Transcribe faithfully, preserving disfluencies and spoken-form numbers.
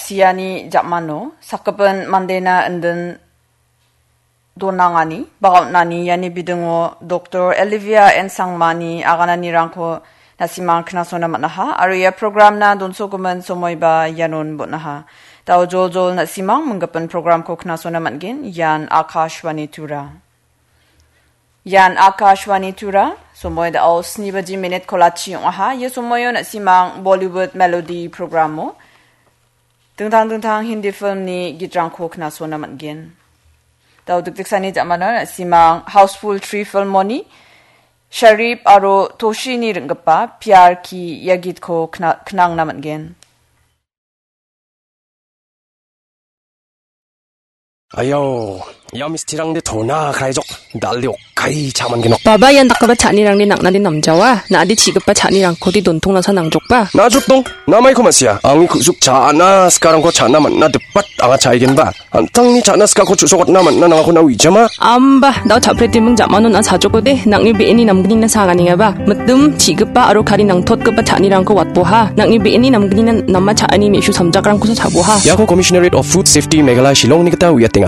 Siani jamano sakgipin mandena indin donangani, bagaonani iani bidingo Doktor Olivia N Sangmani agananirangko na·simang knasona man·aha, aro ia programna donsogimin somoiba ianon bon·aha. Dao joljol na·simang minggipin programko knasona man·gen, ian Akashvani Tura. Ian Akashvani Tura, somoi dao sni baji minit kolachi ong·aha. Ia somoio na·simang Bollywood Melody programo dingtang dingtang Hindi filmni gitrangko knasona man·gen. Dao dikdiksani jamano na·simang Housefull Three filmoni Sharif aro Toshini ring·gipa Pyar Ki ia gitko kna-, knangna man·gen. Ayo, ia mistirangde tona kraijok, dalde okkai cha·mangenok. Baba, ian dakgipa cha·anirangde nang·nade namjawa, na·ade chi·gipa cha·nirangkode dontongnasa nangjokba. Najokdong, namaiko ma·sia, angni ku·suk cha·ana sikarangko cha·na man·na dipat anga cha·egenba. An·tangni cha·na sikako chu·sokatna man·na nangako na uijama. Amba, dao cha·pretiming jamano na·a chajokode, nang·ni be·eni namgnina saganengaba. Mitim, chi·gipa aro kari nangtotgipa cha·anirangko watboha. Nang·ni be·eni namgnina nama cha·ani me·su samjakrangkosa chaboha. Iako Commissionerate of Food Safety Meghalaya Shillongni gita uiatenga.